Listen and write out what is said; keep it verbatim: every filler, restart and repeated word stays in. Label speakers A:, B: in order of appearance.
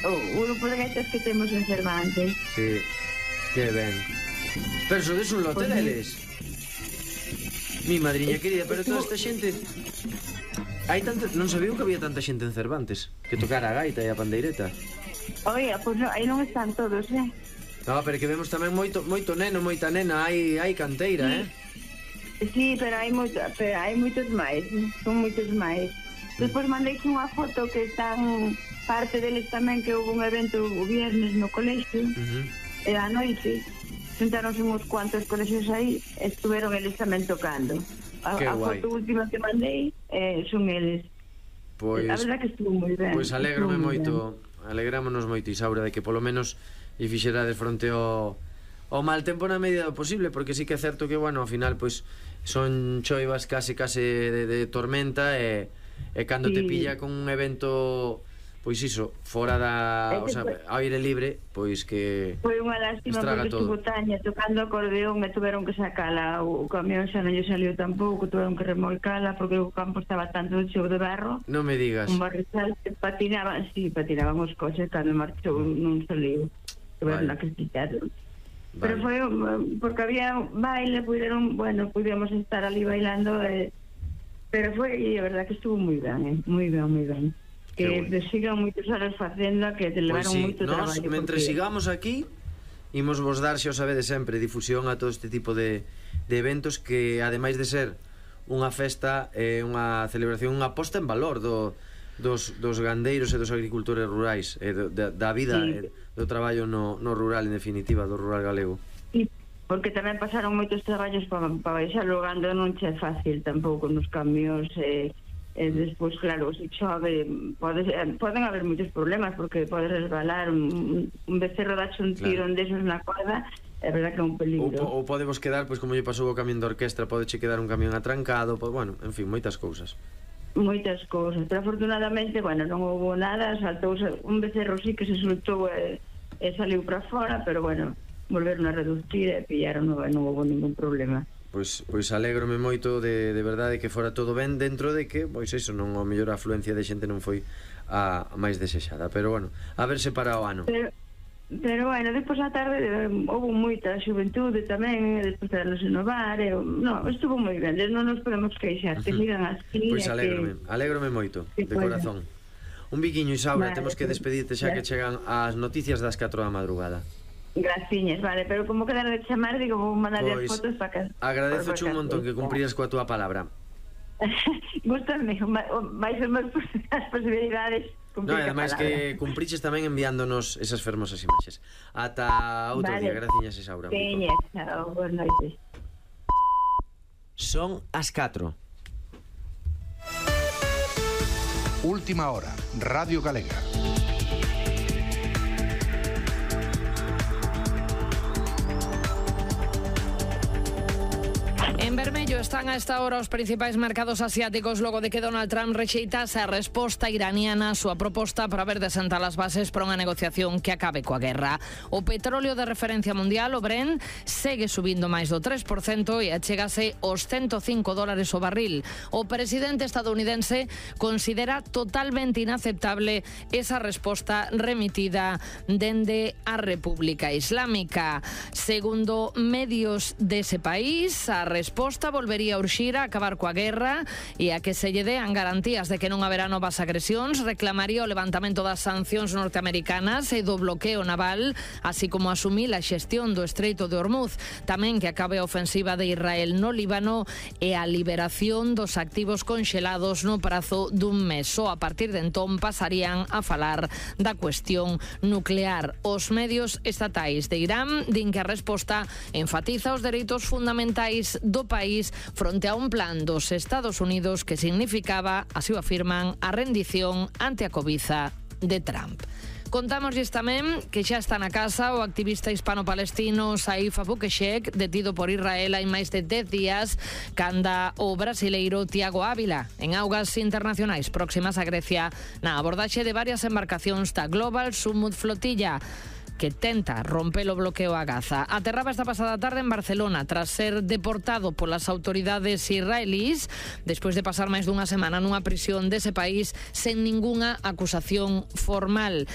A: o grupo de gaitas que temos en Cervantes.
B: Sí, que ben. Pero sodes un lote deles. Mi madriña querida, pero toda esta xente... Hai tanta... Non sabía que había tanta xente en Cervantes que tocara a gaita e a pandeireta.
A: Oia, pois non, aí non están todos, eh?
B: No, pero que vemos tamén moito, moito neno, moita nena. Hai, hai canteira,
A: sí.
B: eh?
A: Sí, pero hai moito, pero hai moitos máis. Son moitos máis. Despois mandei unha foto que están parte deles tamén, que houve un evento o viernes no colexio, uh-huh. E a noite sentaronse uns cuantos colexios aí, estuveron eles tamén tocando. A, a foto última que mandei eh, son eles.
B: Pois,
A: a verdad que estuvo moi ben.
B: Pois alégrome moito, alegrámonos moito, Isaura, de que polo menos e fixerades fronte ao, ao mal tempo na medida do posible, porque sí que é certo que, bueno, ao final, pois, son choivas case, case de, de tormenta, e, e cando sí. te pilla con un evento... Pois iso, fora da, o sea, ao aire libre, pois que
A: foi unha lástima porque estuvo Taña tocando acordeón e tuveron que sacala, o camión xa non lle saliu tampouco, tuveron que remolcala porque o campo estaba tanto cheo de barro.
B: Non me digas.
A: Un barrizal que patinaban, sí, patinaban os coches cando marchou nun saliu. Tuveron que quitar. Vale. Pero foi porque había baile, puderon, bueno, pudemos estar ali bailando, eh, pero foi, e a verdad que estuvo moi ben, eh, moi ben, moi ben. Que te sigan moitos anos facendo, que te levaron
B: pues sí,
A: moito
B: nos,
A: traballo.
B: Mentre porque... sigamos aquí, imos vos dar, xa o sabedes sempre, difusión a todo este tipo de, de eventos que, ademais de ser unha festa, é eh, unha celebración, unha posta en valor do, dos, dos gandeiros e dos agricultores rurais, e do, da, da vida, sí. E do traballo no, no rural, en definitiva, do rural galego.
A: Sí, porque tamén pasaron moitos traballos para pa baixar o gando, non che é fácil tampouco nos camións, e... E despois, claro, se chove pode, poden haber moitos problemas porque pode resbalar un, un becerro dache un tiro claro. Desos na corda, é verdad que é un peligro.
B: Ou, ou podemos quedar, pois como lle pasou o camión de orquestra, podeche quedar un camión atrancado, pois, bueno, en fin, moitas cousas.
A: Moitas cousas, pero afortunadamente, bueno, non houve nada, saltou un becerro sí que se soltou e, e saliu para fora, pero bueno, volveron a reducir e pillaron, non, non houve ningún problema.
B: Pois, pois alégrome moito de, de verdade que fora todo ben, dentro de que, pois iso, non, a mellor a afluencia de xente non foi a, a máis desexada, pero bueno, a verse para o ano.
A: Pero, pero bueno, despois a tarde houve moita xuventude tamén, despois de nos inovar, e, no, estuvo moi ben, non nos podemos queixar, que sigan así.
B: Pois alégrome, que... alégrome moito, de corazón. Un biquiño, Isaura, vale, temos que despedirte xa que chegan as noticias das catro da madrugada.
A: Graciñas, vale, pero como quedar de chamar, digo, vou mandar
B: pois,
A: as fotos para que...
B: Agradezo un montón que cumpriras coa túa palabra.
A: Gústame, vais ser máis as posibilidades.
B: No, e ademais que cumpriches tamén enviándonos esas fermosas imaxes. Ata outro vale. Día, graciñas, Isaura.
A: Veña, chao, boas noites.
B: Son as catro.
C: Última hora, Radio Galega.
D: En vermello están a esta hora os principais mercados asiáticos logo de que Donald Trump rexeitase a resposta iraniana a súa proposta para ver de sentar as bases para unha negociación que acabe coa guerra. O petróleo de referencia mundial, o Brent, segue subindo máis do tres por cento e achégase aos ciento cinco dólares o barril. O presidente estadounidense considera totalmente inaceptable esa resposta remitida dende a República Islámica. Segundo medios dese país, a resposta volvería a urxir a acabar coa guerra e a que se lle dean garantías de que non haberá novas agresións, reclamaría o levantamento das sancións norteamericanas e do bloqueo naval, así como asumir a xestión do Estreito de Hormuz, tamén que acabe a ofensiva de Israel no Líbano e a liberación dos activos conxelados no prazo dun mes. Só a partir de entón pasarían a falar da cuestión nuclear. Os medios estatais de Irán din que a resposta enfatiza os dereitos fundamentais do país fronte a un plan dos Estados Unidos que significaba, así o afirman, a rendición ante a cobiza de Trump. Contámoslles tamén que xa está na casa o activista hispano-palestino Saif Abu Keshek, detido por Israel hai máis de dez días, canda o brasileiro Tiago Ávila en augas internacionais próximas a Grecia na abordaxe de varias embarcacións da Global Summit Flotilla que tenta romper o bloqueo a Gaza. Aterraba esta pasada tarde en Barcelona tras ser deportado polas autoridades israelís despois de pasar máis dunha semana nunha prisión dese país sen ningunha acusación formal.